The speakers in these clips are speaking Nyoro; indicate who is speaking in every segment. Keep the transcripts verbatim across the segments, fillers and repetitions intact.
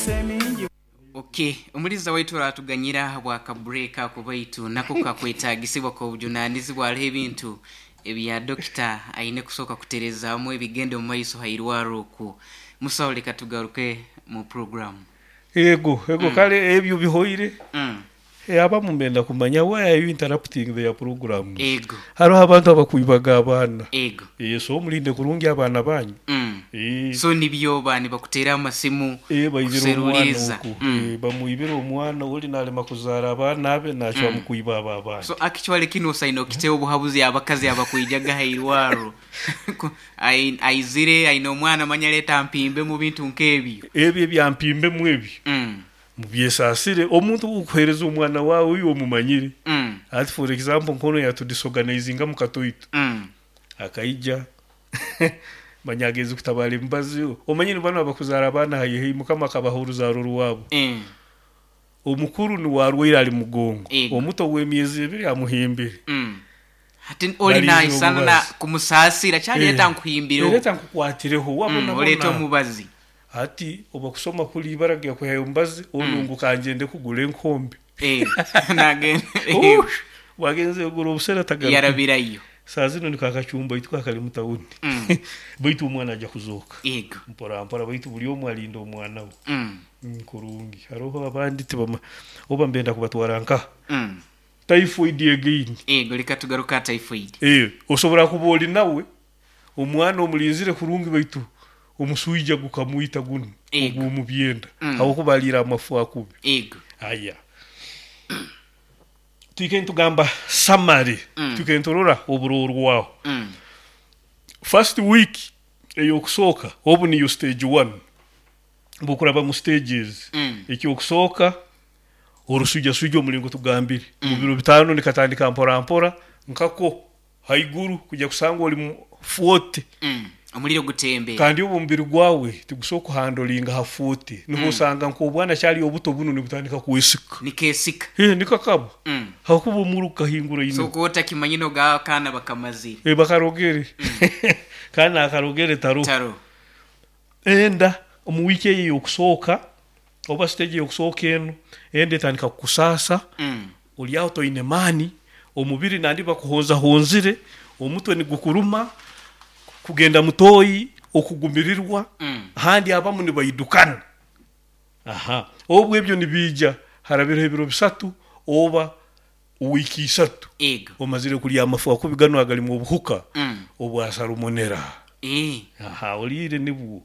Speaker 1: Emigisa emingi.
Speaker 2: Okay, omuliza waitu aratuganyira bwaka break ako, baitu nako kakwetagisibwa k'obujunanizibwa. Hariho ebintu ebya dokita aine kusooka kuterezaamu ebigenda omu maiso hairwaro okwo. Musawo, leka tugaruke mu program.
Speaker 3: Ego ego, kale ebyo bihoire.
Speaker 2: mm.
Speaker 3: Eh, abamu mbenda kumanya, why are you interrupting their programs?
Speaker 2: Ego.
Speaker 3: Hariho abantu abakwibaga abaana.
Speaker 2: Ego.
Speaker 3: Eh, so mulinde kurungi abaana banyu.
Speaker 2: mm.
Speaker 3: Eh,
Speaker 2: so nibyo ba nibakuteera amasimu
Speaker 3: eh, baibire omwana.
Speaker 2: Kuseruliza.
Speaker 3: Oku
Speaker 2: Mm.
Speaker 3: Eh, bamwibire omwana, oli nalema kuzaara abaana abe, nacwamu
Speaker 2: Mm.
Speaker 3: kwiba abo abaana.
Speaker 2: So actually kino osaine okiteho obuhabuzi abakazi abakwijaga hairwaro. Ku- ai- aizire aine omwana, manya leeta mpimbe mu bintu nk'ebyo.
Speaker 3: Ebyo ebyampimbemu ebyo,
Speaker 2: mm.
Speaker 3: mubyesasire. Omuntu ukuhereza omwana wawe uyo omumanyire.
Speaker 2: Mm.
Speaker 3: Ati for example, nkono yatudisorganizinga mu katoito,
Speaker 2: Mm.
Speaker 3: akaija manya ageze kutabara emibazi. Omanyire bano abakuzaara abaana haihi, Mukama akabaha oruzaaro rwabo.
Speaker 2: Eh.
Speaker 3: Omukuru niwarwaire ali mugongo,
Speaker 2: Ego.
Speaker 3: omuto w'emyezi ebiri amuhimbire.
Speaker 2: Mm. hati oli
Speaker 3: Balize
Speaker 2: naisana na
Speaker 3: omubazi.
Speaker 2: kumusaasira kyaleeta
Speaker 3: Eh.
Speaker 2: nkuhimbireho.
Speaker 3: Ereeta nkukwatireho wabona.
Speaker 2: Mm, oleeta omubazi.
Speaker 3: Ati oba kusoma kuli ibara gyakuhayo omubazi onu, ngu kanjende kugura enkombe.
Speaker 2: Eh, nagenda.
Speaker 3: Ush, wagenze kugura obusera tagaruka.
Speaker 2: Yarabirayo.
Speaker 3: Saa zino niko akacumba itu kakali mu tawuni.
Speaker 2: Mm.
Speaker 3: Baitu omwana ajja kuzooka
Speaker 2: ego
Speaker 3: mpora mpora, baitu buli omu alinda omwana we.
Speaker 2: Mm.
Speaker 3: Mm, kurungi. Hariho abandi tibama oba mbenda kubatwara nka
Speaker 2: Mm.
Speaker 3: typhoid again.
Speaker 2: Ego, leka tugaruka typhoid.
Speaker 3: Eh, osobola kuba oli nawe omwana omulinzire kurungi, baitu omuswija gukamwita guno.
Speaker 2: Ego.
Speaker 3: Ogumu byenda,
Speaker 2: Mm.
Speaker 3: habwokuba aliira amafu akubi.
Speaker 2: Ego.
Speaker 3: Aya, twike ntugamba summary.
Speaker 2: Mm.
Speaker 3: Twike nturora oburorwaho.
Speaker 2: Mm.
Speaker 3: First week eyokusooka, obu niyo stage one, bukuraba mu stages.
Speaker 2: Mm.
Speaker 3: Ekyokusooka orusujasuja, omulingo tugambire, mu biro bitaano nikatandika mpora mpora nkako haiguru kujya kusanga oli mu forty.
Speaker 2: Mm. omuliro gutembe.
Speaker 3: Kandi obu omubiri gwawe tigusobola kuhandolinga ha forty, niho osanga nk'obwana kyali obuto buno nibutandika kwesika.
Speaker 2: Nikesika.
Speaker 3: Eh, nikakaba,
Speaker 2: Mm.
Speaker 3: hakuba omuro gukahingura
Speaker 2: So
Speaker 3: ino.
Speaker 2: kuba otakimanyine oga akaana bakamazire.
Speaker 3: Eh, bakarogere kandi nakarogere taro.
Speaker 2: Taro.
Speaker 3: Enda omu wiiki eyo eyokusooka oba stage eyokusooka eno, enda etandika kukusaasa.
Speaker 2: Mm.
Speaker 3: Oli aho toine maani, omubiri nandi bakuhonzahonzire, omutwe nigukuruma, kugenda mutoyi, okugumirirwa.
Speaker 2: Mm.
Speaker 3: Ahandi abamu nibaidukana. Aha, obwo ebyo nibiija harabireho ebiro bisatu oba wiiki isatu,
Speaker 2: ego
Speaker 3: omazire kulya amafu akubi gano agalimu obuhuka
Speaker 2: Mm.
Speaker 3: obwa salmonella.
Speaker 2: Eh.
Speaker 3: Aha, oliire nibwo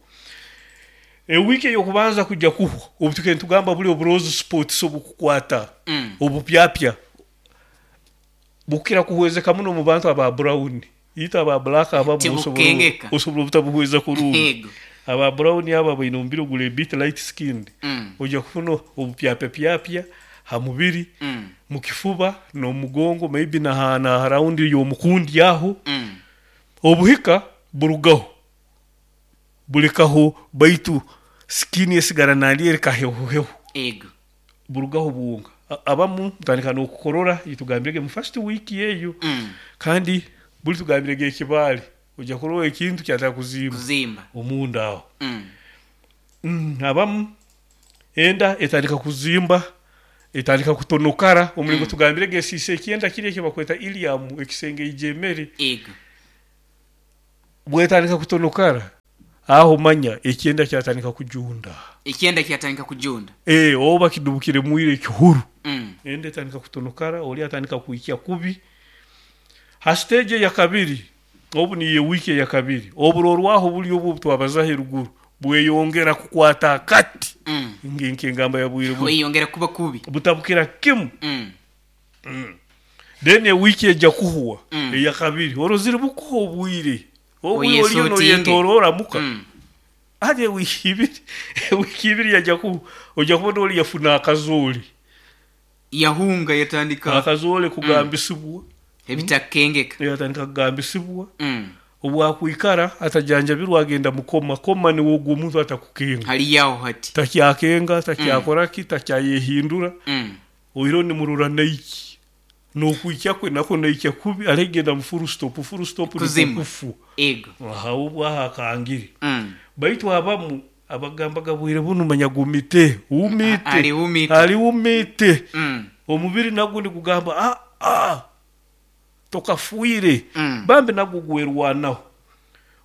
Speaker 3: ewiiki eyokubanza kujja kuhwa, obu tukende tugamba buli obu rose spots obukukwata,
Speaker 2: Mm.
Speaker 3: obupyapya bukira kuhwezeka muno mu bantu aba brown. Ita aba black abamu
Speaker 2: Tibukengeka.
Speaker 3: osobola obutabuhweza kurungi.
Speaker 2: Ego.
Speaker 3: Aba brown abo baine omubiri oguli a bit light skinned,
Speaker 2: Mm.
Speaker 3: ojja kufuna obupyapyapyapya ha mubiri,
Speaker 2: Mm.
Speaker 3: mu kifuba n'omugongo, maybe na na raundi y'omukundi aho.
Speaker 2: Mm.
Speaker 3: Obuhika burugaho, bulekaho, baitu skin esigara nandi eri kahehuhehu.
Speaker 2: Ego.
Speaker 3: Burugaho bwonka. A- abamu mutandika n'okukorora, itugambirege mu first week eyo.
Speaker 2: Mm.
Speaker 3: Kandi buli tugambirege ekibaale, ojja kurora ekintu kyataka kuzimba
Speaker 2: Kuzimba.
Speaker 3: omunda aho.
Speaker 2: Mm.
Speaker 3: Mm, abamu enda etandika kuzimba, etandika kutonokara omulingo
Speaker 2: Mm.
Speaker 3: tugambirege esiisa ekyenda kiri ekyo bakweta ilium, ekisenge ijemere.
Speaker 2: Ego.
Speaker 3: Bwetandika kutonokara aho, manya ekyenda kyatandika kujunda.
Speaker 2: Ekyenda kyatandika kujunda.
Speaker 3: E, oba kidubukire mwire ekihuru.
Speaker 2: Mm.
Speaker 3: Enda etandika kutonokara, oli atandika kuikya kubi. Ha stage ya kabiri, obu niyo wiki ya kabiri, oburorwaho buli obu twabazaho eruguru bweyongera kukwata akati.
Speaker 2: Mm.
Speaker 3: Nk'engamba ya bwire buno,
Speaker 2: Weyongera kuba kubi.
Speaker 3: Butabukira kimu.
Speaker 2: Mm.
Speaker 3: Then ewiki ejja kuhuwa
Speaker 2: Mm.
Speaker 3: eya kabiri, orozire bukuha obwire obwo oliyo
Speaker 2: Oyesotinge.
Speaker 3: noyetorora muka.
Speaker 2: Mm.
Speaker 3: Ati ewiki ibiri ewiki ibiri yajja ku ojja kubona oli yafuna akazoole.
Speaker 2: Yahunga yatandika.
Speaker 3: Akazoole kugambisibwa.
Speaker 2: Ebitakengeka.
Speaker 3: Yatandika kugambisibwa.
Speaker 2: Mm.
Speaker 3: Obwakwikara atajanjabirwa, agenda mukoma koma, niwe ogwo omuntu atakukenga.
Speaker 2: Haliyaho hati.
Speaker 3: Takyakenga, takyakoraki, takyayehindura.
Speaker 2: Mm.
Speaker 3: Oiro nimurora naiki nokwikya kwe nako naikya kubi, alegenda mu full stop. Full stop
Speaker 2: Kuzima.
Speaker 3: nikufu.
Speaker 2: Ego.
Speaker 3: Aha, obwo aha akangire.
Speaker 2: Mm.
Speaker 3: Baitu abamu Abagambaga bwire bunu manya gumite umite.
Speaker 2: Ali umite.
Speaker 3: Ali umite.
Speaker 2: Mm.
Speaker 3: Omubiri nagwo nigugamba ah ah tokafuire.
Speaker 2: Mm.
Speaker 3: Bambi nagwo gwerwanaho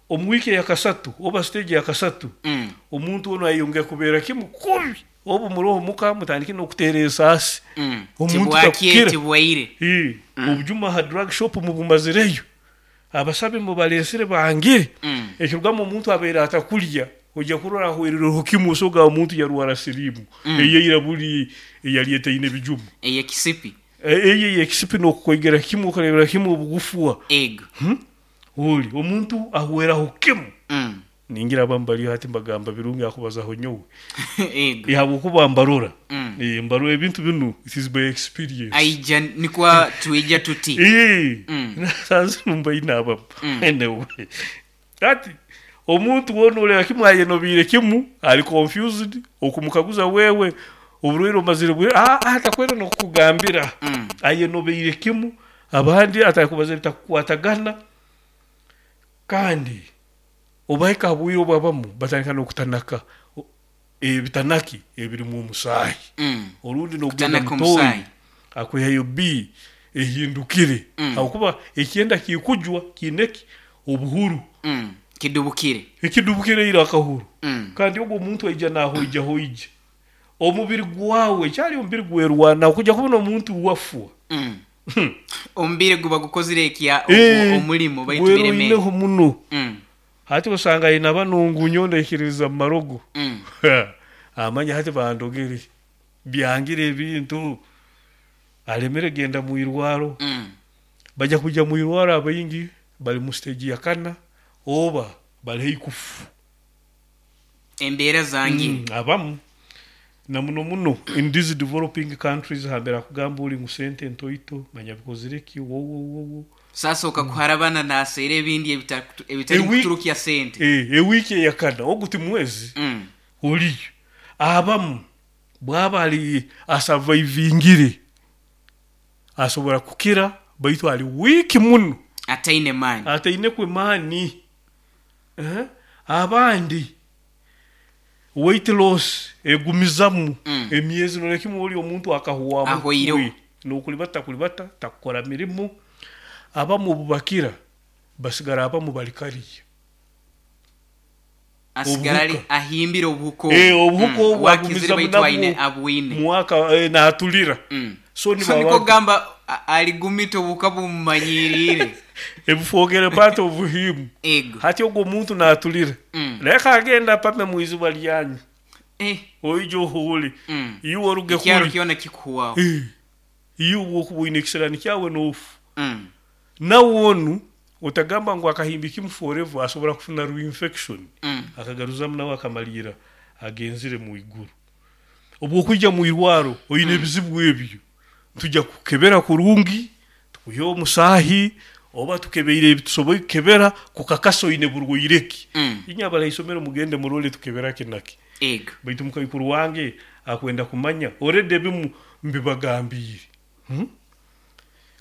Speaker 3: omu wiiki eyakasatu oba stage yakasatu.
Speaker 2: Mm.
Speaker 3: Omuntu ono ayeyongera kubeera kimu kubi, obu muroho muka mutandike n'okuteera ensaasi.
Speaker 2: Mm.
Speaker 3: Omuntu
Speaker 2: Tibwakye
Speaker 3: takukira.
Speaker 2: Tibwaire.
Speaker 3: Ii, obujuma ha drug shop mubumazireyo, abasabi mubalesire bangire.
Speaker 2: Mm.
Speaker 3: Ekirugamu omuntu abeire atakulya, ojja kurora ahwerereho kimu, osoga omuntu yarwara siriimu.
Speaker 2: Mm.
Speaker 3: Eyeira buli eyali etaine bijuma.
Speaker 2: Eyekisipi.
Speaker 3: Eyo eyekisipi n'okukwegera kimu okarebera kimu obugufwa.
Speaker 2: Ego.
Speaker 3: Hmm? Oli omuntu ahweraho kimu.
Speaker 2: Mm.
Speaker 3: Ningira abamu bali hati mbagamba birungi akubazaho nyowe.
Speaker 2: Ego.
Speaker 3: Habwokuba mbarora.
Speaker 2: Mm.
Speaker 3: Eh, mbarora ebintu binu, it is by experience.
Speaker 2: Aija nikwa tuija tuti.
Speaker 3: Eh,
Speaker 2: Mm.
Speaker 3: nasanze mbaine abamu.
Speaker 2: Mm.
Speaker 3: Anyway, kati omuntu wona oleba kimu ayenobiire kimu, ali confused, okumukaguza wewe oburwaire omazire bwe ah ah takwenda nokukugambira.
Speaker 2: Mm.
Speaker 3: Ayenobeire kimu, abandi atakubaza bitakukwatagana, kandi obahika habwire obwabamu batandika n'okutanaka O- ebitanaki ebirimu omusaahi.
Speaker 2: Mm.
Speaker 3: Orundi n'okugenda
Speaker 2: Kutanaka
Speaker 3: mutoyi
Speaker 2: omusaahi.
Speaker 3: akwihayo b ehindukire.
Speaker 2: Mm.
Speaker 3: Habwokuba ekyenda kikujwa kineki obuhuru.
Speaker 2: Mm. Kidubukire.
Speaker 3: Ekidubukire ira akahuru.
Speaker 2: Mm.
Speaker 3: Kandi ogwo omuntu aija nahoija hoija omubiri gwawe kyali omubiri gwerwana okujja kubona omuntu wafwa.
Speaker 2: Mm. Omubiri guba gukozire ekya
Speaker 3: Eh,
Speaker 2: omulimo baitu bireme.
Speaker 3: gweroineho muno.
Speaker 2: Mm.
Speaker 3: Hati osanga aine banungu nyo ndaikiririza mu marogo.
Speaker 2: Mm.
Speaker 3: Amanya hati bandogere byangire ebintu alemere genda mu irwaro.
Speaker 2: Mm.
Speaker 3: Bajja kujja mu irwaro, abaingi bali mu stage ya kana oba bali haihi kufu.
Speaker 2: Embeera zangire.
Speaker 3: Mm, abamu na muno muno in these developing countries hambere akugamba uli ngu sente ntoito manya bikozire ki wowowowo.
Speaker 2: Sasa okakuharabana naseera ebindi ebita- ebitari
Speaker 3: Ewi-
Speaker 2: kuturukya sente.
Speaker 3: Eh, ewiiki eyakana ogu ti mwezi.
Speaker 2: Mm.
Speaker 3: Oliyo abamu bwaba ali asurvivingire asobora kukira, baitu ali wiiki muno.
Speaker 2: Ataine maani.
Speaker 3: Ataine kwemaani. Eh, abandi weight loss egumizamu.
Speaker 2: Mm.
Speaker 3: Emyezi nolekimu oli omuntu akahwamu.
Speaker 2: Ahweireho.
Speaker 3: We, nokulibata kulibata takukora mirimu. Abamu obubakira basigara abamu bali kariya.
Speaker 2: Asigara ali
Speaker 3: Obuhuka.
Speaker 2: ahimbire obuhuka obu.
Speaker 3: Eh, obuhuka
Speaker 2: Mm.
Speaker 3: obu
Speaker 2: Wakizire
Speaker 3: agumizamu
Speaker 2: baitu
Speaker 3: nabwo.
Speaker 2: aine abwine.
Speaker 3: Mwaka eh, natulira.
Speaker 2: Mm.
Speaker 3: So
Speaker 2: So niko gamba a- aligumita obuhuka bumumanyiriire.
Speaker 3: Ebufogere part of him.
Speaker 2: Ego.
Speaker 3: Hati ogwo omuntu natulira.
Speaker 2: Mm.
Speaker 3: Leka agenda pame mwizuba lyanyu.
Speaker 2: Eh.
Speaker 3: Oija ohuule.
Speaker 2: Mm.
Speaker 3: Iwe oruge
Speaker 2: Ekyaro
Speaker 3: kuli.
Speaker 2: kyona kikuhwaho.
Speaker 3: Eh, iwe okuba oine ekisirani kyawe n'ofu.
Speaker 2: Mm.
Speaker 3: Nawe onu otagamba ngu akahimbi kimu forever, asobora kufuna reinfection.
Speaker 2: Mm.
Speaker 3: Akagaruzamu nawe akamalira agenzire mu iguru. Obwokwija mu irwaro oine ebizibu ebyo, tujja kukebera kurungi, tukuhe omusaahi oba tukebeire ebitusoboire kukebera kukakasa oine burwaire ki.
Speaker 2: Mm.
Speaker 3: Inywe abala isomero mugende murole tukebera kinaki.
Speaker 2: Ego.
Speaker 3: Baitu mukaikuru wange akwenda kumanya already ebimu mbibagambiire. Hmm?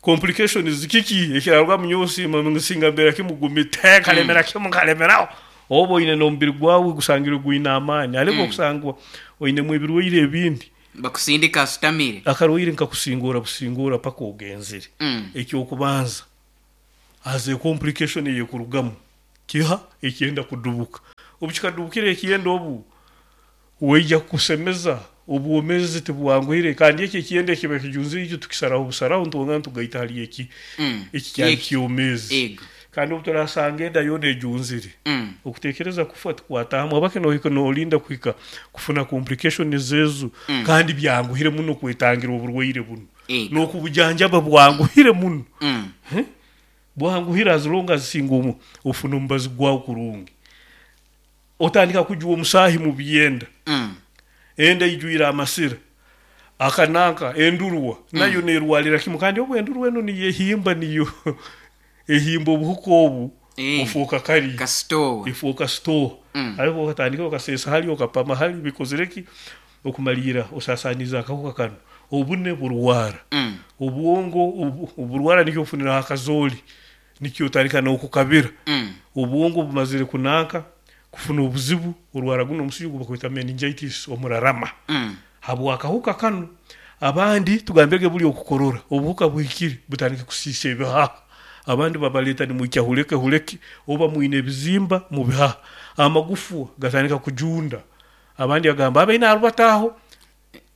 Speaker 3: Complications kiki ekirarwa munyosima nsinga mbera kimugumite kalemera kimu kalemeraho oba oine n'omubiri gwawe gusangire gwine amaani ariko
Speaker 2: Mm.
Speaker 3: okusangwa oinemu ebirwaire ebindi.
Speaker 2: Bakusindika asutamire.
Speaker 3: Akarwaire nkakusingura busingura paka ogenzire.
Speaker 2: Mm.
Speaker 3: Ekyokubanza aze complication eyekurugamu kiha ekyenda kudubuka, obu kikadubukira ekyenda obu weija kukusemeza obwomezi tibwanguhire, kandi eki ekyenda ekiba kijunzire ekyo tukisaraho busaraho ntwongera ntugaita hali eki
Speaker 2: Mm.
Speaker 3: eki kyali
Speaker 2: Eki.
Speaker 3: kyomezi.
Speaker 2: Ego.
Speaker 3: Kandi obu turasanga enda yoona ejunzire,
Speaker 2: Mm.
Speaker 3: okutekereza kufa tukwatamu abake nohika nolinda kuhika kufuna complication zezo.
Speaker 2: Mm.
Speaker 3: Kandi byanguhire muno kwetangira oburwaire buno.
Speaker 2: Ego.
Speaker 3: N'okubujanjaba bwanguhire muno.
Speaker 2: Mm.
Speaker 3: Bwanguhire as long as singa omu ofuna omubazi gwawe kurungi, otandika kujuwa omusaahi mu byenda.
Speaker 2: Mm.
Speaker 3: Enda ijwire amasira akananka endurwa nayo nerwalira kimu, kandi obu endurwa eno niyo ehimba niyo ehimba obuhuka obu.
Speaker 2: Eh.
Speaker 3: Ofuuka kari.
Speaker 2: Kasitowa.
Speaker 3: Ifuuka store.
Speaker 2: Mm.
Speaker 3: Ariko okatandika okasesa hali okapama hali bikozire ki okumalira osasaniza akahuka kano obune burwara.
Speaker 2: Mm.
Speaker 3: Obwongo obu- oburwara nikyo ofunira akazooli nikyo otandika n'okukabira.
Speaker 2: Mm.
Speaker 3: Obwongo bumazire kunanka Kufuna obuzibu orwara guno omusujja gubakweta meningitis, omurarama,
Speaker 2: Mm.
Speaker 3: habwakahuka kanu. Abandi tugambege buli okukorora obuhuka buhikire butandike kusiisa ebihaha. Abandi babaleeta nimwikya huleke huleke, oba mwine ebizimba mu bihaha, amagufa gatandika kujunda. Abandi agamba abaine arubataho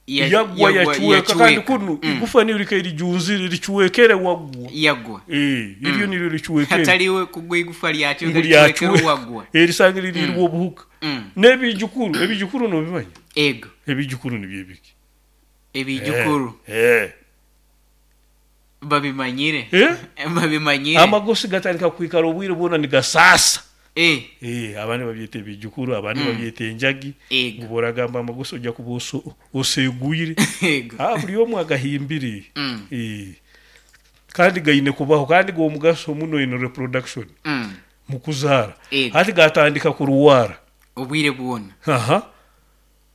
Speaker 2: Ya-
Speaker 3: yagwa,
Speaker 2: yagwa,
Speaker 3: yacweka kandi
Speaker 2: yacweka.
Speaker 3: Kunu
Speaker 2: Mm.
Speaker 3: igufa niyo likaire lijunzire licwekere wagwa.
Speaker 2: Yagwa.
Speaker 3: Eh, iryo niryo licwekere.
Speaker 2: Hataliwe kugwa igufa lyacweka.
Speaker 3: Ngu
Speaker 2: licwekere
Speaker 3: lyacwe-
Speaker 2: wagwa.
Speaker 3: Erisanga lirirwa obuhuka
Speaker 2: Mm.
Speaker 3: n'ebijukuru. Ebijukuru nobimanya?
Speaker 2: Ego.
Speaker 3: Ebijukuru nibyo ebiki?
Speaker 2: Ebijukuru.
Speaker 3: Eh,
Speaker 2: babimanyire.
Speaker 3: Eh?
Speaker 2: Babimanyire.
Speaker 3: Amagosi gatandika kwikara obwire bwona nigasaasa.
Speaker 2: Eh.
Speaker 3: Eh, abandi babyeta ebijukuru, abandi
Speaker 2: Mm.
Speaker 3: babyeta enjagi.
Speaker 2: Ego.
Speaker 3: Ngu boragamba amagosi ojja kuba oso- osegwire.
Speaker 2: Ego.
Speaker 3: Ah, buli omu agahimbire.
Speaker 2: Mm.
Speaker 3: Eh. Kandi gaine kubaho, kandi g'omugaso muno in reproduction,
Speaker 2: Mm.
Speaker 3: mu kuzaara.
Speaker 2: Ego.
Speaker 3: Hati gatandika kurwara
Speaker 2: obwire bwona.
Speaker 3: Aha,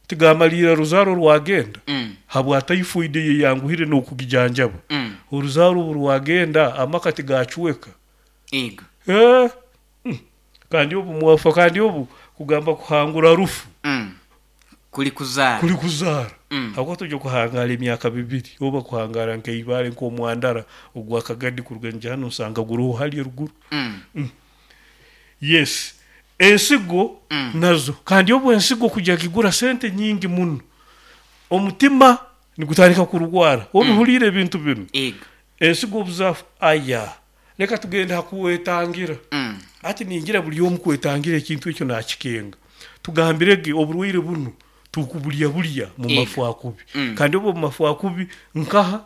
Speaker 3: tigamaliira ruzaaro rwagenda
Speaker 2: Mm.
Speaker 3: habwa typhoid eyeyanguhire n'okugijanjaba.
Speaker 2: Mm.
Speaker 3: Oruzaaro obu rwagenda, amaka tigacweka.
Speaker 2: Ego.
Speaker 3: Eh, mm. Kandi obu mwafa, kandi obu kugamba kuhangura rufu
Speaker 2: Mm. kuli kuzaara.
Speaker 3: Kuli kuzaara.
Speaker 2: Mm.
Speaker 3: Habwo tujja kuhangara emyaka bibiri oba kuhangara nk'eibaare, nk'omwandara ogwakagadi kuruga nja hano nsanga guruho hali eruguru.
Speaker 2: Mm.
Speaker 3: Yes, ensigo
Speaker 2: Mm.
Speaker 3: nazo. Kandi obu ensigo kujya kigura sente nyingi muno, omutima nigutandika kurwara obihuliire ebintu binu.
Speaker 2: Ego.
Speaker 3: Ensigo obuzafu aya, reka tugende hakuwetangira.
Speaker 2: Mm.
Speaker 3: Ati ningira buli omu kwetangira ekintu ekyo nakikenga. Tugambirege oburwaire buno tukubulya bulya mu
Speaker 2: Ego.
Speaker 3: mafu akubi.
Speaker 2: Mm.
Speaker 3: Kandi obu mu mafu akubi nkaha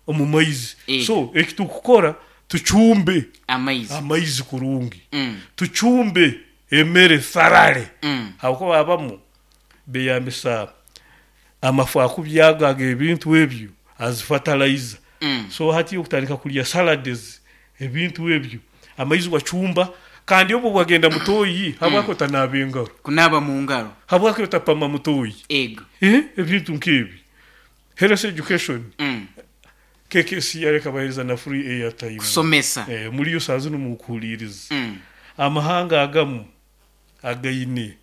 Speaker 3: omu maizi.
Speaker 2: Ego.
Speaker 3: So ekitukukora, tucumbe
Speaker 2: amaizi.
Speaker 3: Amaizi kurungi.
Speaker 2: Mm.
Speaker 3: Tucumbe emere sarale,
Speaker 2: Mm.
Speaker 3: habwokuba abamu beyambisa amafu akubi ago aga ebintu ebyo as fertilizer.
Speaker 2: Mm.
Speaker 3: So hati okutandika kulya salades, ebintu ebyo, amaizi wacumba. Kandi obu wagenda mutoyi, habwaki otanaaba engaro?
Speaker 2: Kunaaba mu ngaro.
Speaker 3: Habwaki otapama mutoyi?
Speaker 2: Ego.
Speaker 3: Eh, ebintu nk'ebi, health education.
Speaker 2: Mm.
Speaker 3: K K C yareka bahereza na free airtime.
Speaker 2: Kusomesa.
Speaker 3: Eh, muri yo saa zino mukuhuliriza.
Speaker 2: Mm.
Speaker 3: Amahanga agamu againe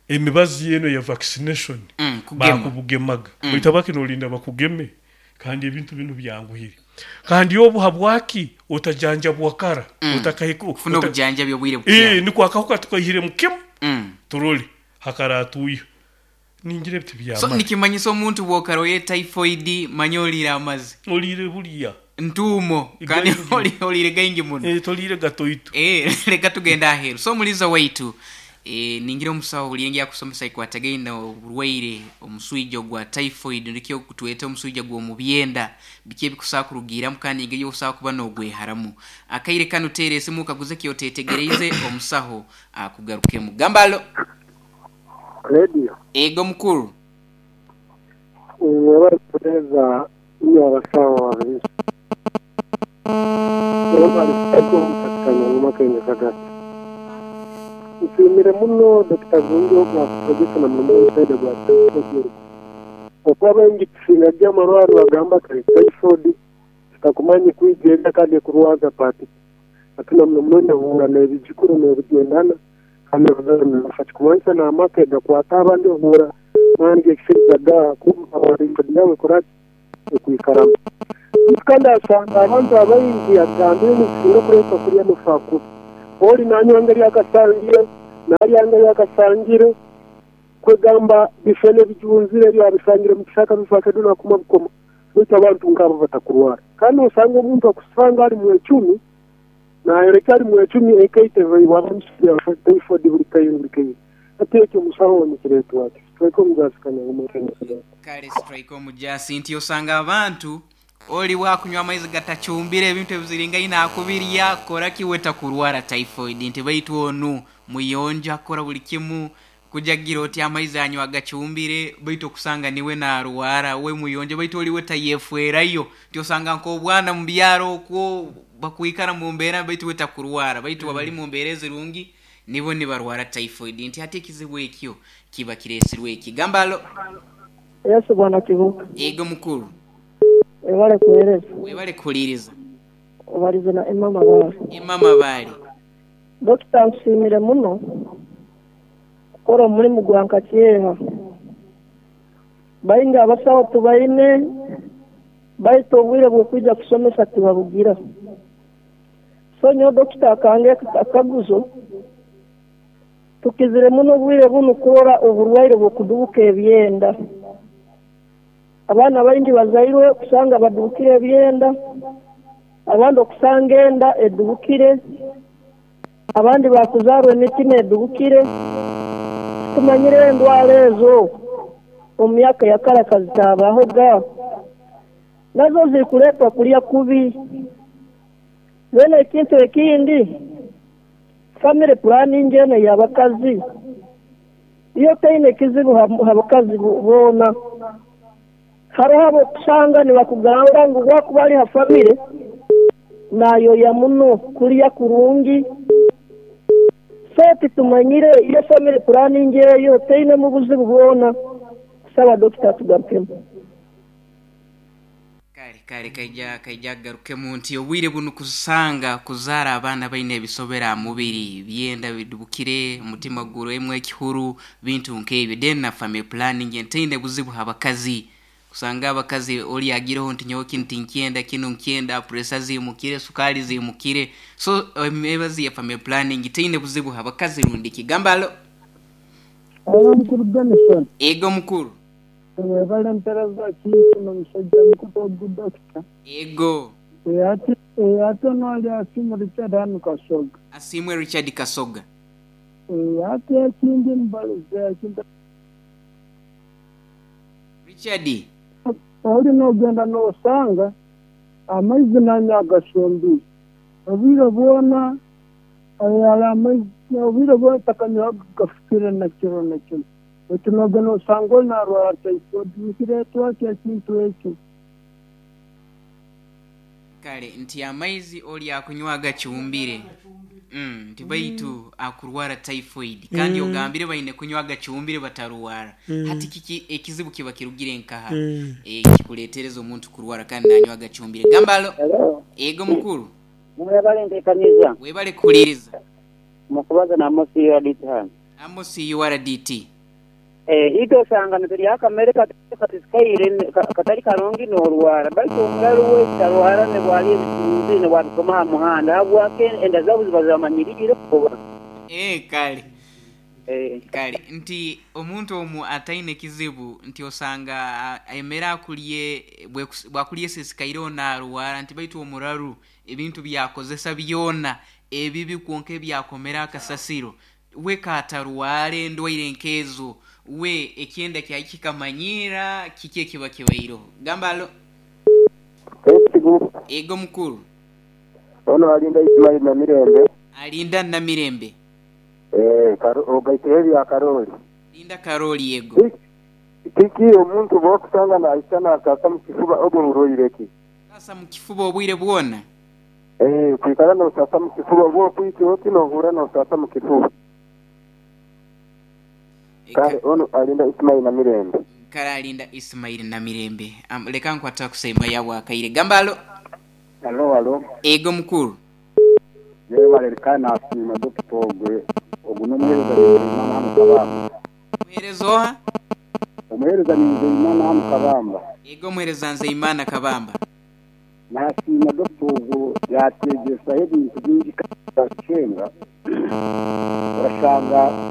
Speaker 3: emibazi yeno ya vaccination,
Speaker 2: Mm. kugema.
Speaker 3: bakubugemaga.
Speaker 2: Mm.
Speaker 3: Baitu abaki nolinda bakugeme, kandi ebintu binu byanguhire. Kandi obu habwaki otajanjabwa kara?
Speaker 2: Mm.
Speaker 3: Otakahika
Speaker 2: kufuna
Speaker 3: ota-
Speaker 2: obujanjabi obwire
Speaker 3: Eh,
Speaker 2: bukyali.
Speaker 3: niko akahuka tukahire mukimu.
Speaker 2: Mm.
Speaker 3: Turole hakaratuya ningira ebiti
Speaker 2: So
Speaker 3: byamara.
Speaker 2: nikimanyisa omuntu bw'okaroye typhoid, manya oliire amazi.
Speaker 3: Olire bulya.
Speaker 2: Ntuumo kandi.
Speaker 3: Gaingi.
Speaker 2: oli- oliire gaingi muno.
Speaker 3: Eh, tolire gatoito.
Speaker 2: Eh, leka tugenda aheeru. So omuliza waitu, eh, ningira omusawo buli akusomesa ikwatagaine oburwaire omuswija ogwa typhoid, nikyo kutweta omuswija gw'omubyenda, biki ebikusobola kurugiiramu kandi engeri yokusobola kuba n'ogweharamu. Akaire kanu teera esimu kaguze kyotetegereize, omusaho akugarukemu. Gambalo.
Speaker 1: Radio.
Speaker 2: Ego mukuru.
Speaker 1: Mwebale kutereeza nnyo abasawo babiri. Mwebale katika Nyang'oma Kenya Kagati. Nsiimire muno Dokita Gungi ogwakutegeka na muno omusaija gwa typhoid. Okuba baingi tusinga amarwaro bagamba kali typhoid, tutakumanyi kwigenga kandi kurwaza pati. Ate na muno muno nehura n'ebijukuru n'ebigendana kandi nafa kikumanyisa n'amaka gakwata abandi ohura mani gekisiriza ga kumva typhoid yawe kuraki ekwikaramu. Kandi asanga abantu abaingi agambire nikisinga kureetwa kurya amafu. Oli nanywanga lyakasangire, nalyanga lyakasangire, kwegamba bifene bijunzire lyabisangire mu kisaka bifake duna kuma bukoma. Baitu abantu nk'abo batakurwara. Kandi osanga omuntu akusanga ali mu ecumi, nayoleka ali mu ecumi ekaite wabamusiya typhoid buli kaire buli kaire. Ate ekyo omusawo nikireetwa ati. Tweke omugasi Kanyangoma Kenya Kagati.
Speaker 2: Kale strike omujasi nti osanga abantu oli wakunywa amaizi gatacumbire, ebintu ebiziringaine akubirya kora kiweta kurwara typhoid, nti baitu onu muyonjo akora buli kimu, kujagira oti amaizi anywa agacumbire, baitu okusanga niwe narwara we muyonjo, baitu oliwe tayefwerayo. Nti osanga nk'obwana mu byaro okwo bakwikara mu mbeera, baitu we takurwara, baitu abali mu mbeera ezirungi nibo nibarwara typhoid, nti ate ekizibu ekyo kiba kireesirwe eki. Gambalo.
Speaker 4: Yesu bwana Kibuka.
Speaker 2: Ego mukuru.
Speaker 4: Webale kuweereza.
Speaker 2: Webale kuhuliriza.
Speaker 4: Obalize na Emma Mabaale.
Speaker 2: Emma Mabaale.
Speaker 4: Dokita, nsiimire muno. Kukora omulimu gwa nkakyeha. Baingi abasawo tubaine, baitu obwire bw'okwija kusomesa tibabugira. So nyowe dokita akange akaguzo, tukizire muno obwire bunu kurora oburwaire bw'okudubuka ebyenda. Abaana baingi bazairwe kusanga badubukire ebyenda, abandi okusanga enda edubukire, abandi bakuzarwa emitima edubukire. Tumanyire endwara ezo omu myaka ya kara kazitabahoga, nazo zirikuleetwa kulya kubi. Then ekintu ekindi, family planning eno ey'abakazi iyo teine ekizibu ha bakazi boona. Hariho abokusanga nibakugamba ngu bwakuba ali ha family nayoya muno kulya kurungi. So titumanyire iyo family planning eyo teinemu buzibu bwona. Kusaba dokita tugarukemu.
Speaker 2: Kale kale kaija kaija garukemu nti obwire bunu kusanga kuzaara abaana baine ebisobera mubiri byenda bidubukire, omutima gurwemu ekihuru, bintu nk'ebyo. Then na family planning entaine buzibu abakazi, kusanga abakazi oli agireho nti nyowe kinu tinkyenda, kinu nkyenda, pressure zimukire, sukali zimukire. So emibazi ya family planning teine buzibu abakazi rundi kigamba alo.
Speaker 5: Mukuru Benson.
Speaker 2: Ego mukuru.
Speaker 5: Webale mpereza kintu n'omusajja mukuru ogu dokita.
Speaker 2: Ego.
Speaker 5: Ate ate noli Asiimwe Richard hanu Kasoga.
Speaker 2: Asiimwe Richard Kasoga.
Speaker 5: Ate ekindi mbalize ekintu.
Speaker 2: Richard.
Speaker 5: Oli n'ogenda n'osanga amaizi nanya agasumbiire. Obwire bwona amaizi obwire bwona takanywa gafukire na kiro na kiro. Otunogenda osanga oli narwara typhoid, nikireetwa ki ekintu ekyo?
Speaker 2: Kale nti amaizi oli akunywa agacumbire. Mm, nti baitu akurwara typhoid kandi
Speaker 3: Mm.
Speaker 2: ogambire baine kunywa agacumbire batarwara.
Speaker 3: Mm.
Speaker 2: Hati kiki ekizibu kiba kirugire nkaha
Speaker 3: Mm.
Speaker 2: e, kikuletereza omuntu kurwara kandi nanywa agacumbire. Gambalo.
Speaker 6: Hello.
Speaker 2: Ego mukuru.
Speaker 6: Mwebale ntekaniza.
Speaker 2: Webale kuhuliriza.
Speaker 6: Mukubaza na Amos U R D T hano.
Speaker 2: Amos U R D T.
Speaker 6: Eh, ito osanga nituli akamere katisikaire katali karungi n'orwara, baitu omulalu we tarwara ne bwali ebitunzi ne bwabisoma ha muhanda habwake enda zaabo ziba zamanyirire kuba.
Speaker 2: Eh, kale.
Speaker 6: Eh.
Speaker 2: Kale nti omuntu omu ataine kizibu nti osanga emere akulye bwakulye sisikaire onarwara, nti baitu omuraru ebintu byakozesa byona ebibi kwonka ebyakomera akasasiro we katarware endwaire nkezo we ekyenda kyakikamanyira kiki ekiba kibairo. Gambalo. Ego mukuru.
Speaker 1: Ono alinda Ismail na Mirembe.
Speaker 2: Alinda na Mirembe.
Speaker 1: Eh, karo ogaiteri ya Karoli.
Speaker 2: Linda Karoli ego.
Speaker 1: Kiki omuntu bokusanga na aisana akasa mu kifuba obo muroireki.
Speaker 2: Sasa mu kifuba obwire bwona.
Speaker 1: Eh, kwikara no sasa mu kifuba bwo kwiki oti no hura no sasa mu kifuba. Kale ono alinda Ismail na Mirembe.
Speaker 2: Kale alinda Ismail na Mirembe. Um, leka nkwata kusema yawa akaire. Gambalo.
Speaker 7: Alo alo.
Speaker 2: Ego mukuru.
Speaker 7: Yewe balerikana asima dokita ogwe ogu n'omuheereza Nzeyimana hano Kabamba.
Speaker 2: Muheereza oha?
Speaker 7: Omuheereza ni Nzeyimana hano Kabamba.
Speaker 2: Ego muheereza Nzeyimana Kabamba.
Speaker 7: Nasiima dokita ogu yategesaho ebintu bingi kacenga. Urashanga